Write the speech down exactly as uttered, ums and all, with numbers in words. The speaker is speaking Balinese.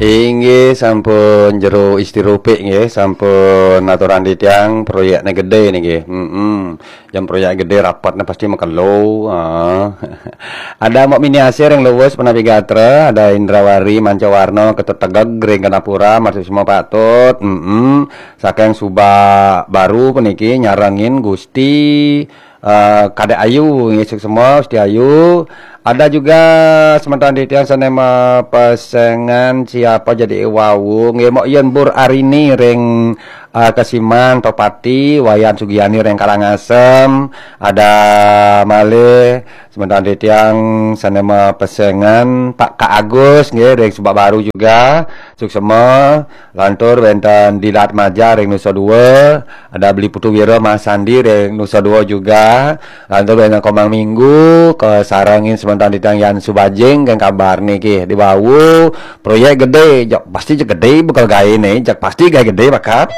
Inggih sampun jero istirupik nggih, sampun aturan titiang proyekne gede niki. Heeh. Jam proyek gede rapatne pasti makelo. Ah. Ada Mbok Mini Asih ring Luwus Penapi Gatra, ada Indrawari Mancawarna Ketut Tegeg ring Kenapura, matur semua patut. Heeh. Saking Subak Baru puniki nyarengin Gusti eh, Kadek Ayu, nggih, suksma, Gusti Ayu. Ada juga semeton titiang sane mapesengan siapa jadi wau, nggih, Mok Yen Bur Arini ring eh, Kesiman, Topati, Wayan Sugiani ring Karangasem. Ada malih semeton titiang sane mapesengan Pak Kak Agus, nggih, ring Subak Baru juga. Suksma, lantur wenten Dilat Maja ring Nusa Dua, ada Beli Putu Wira Mas Sandi ring Nusa Dua juga. Lantur wenten Komang Minggu, kasarengin semeton titiang Yan Subajing, kan kabar niki. Di wau, proyek gede, jak pasti jak gede bakal gaene, jak pasti gae gede bakat.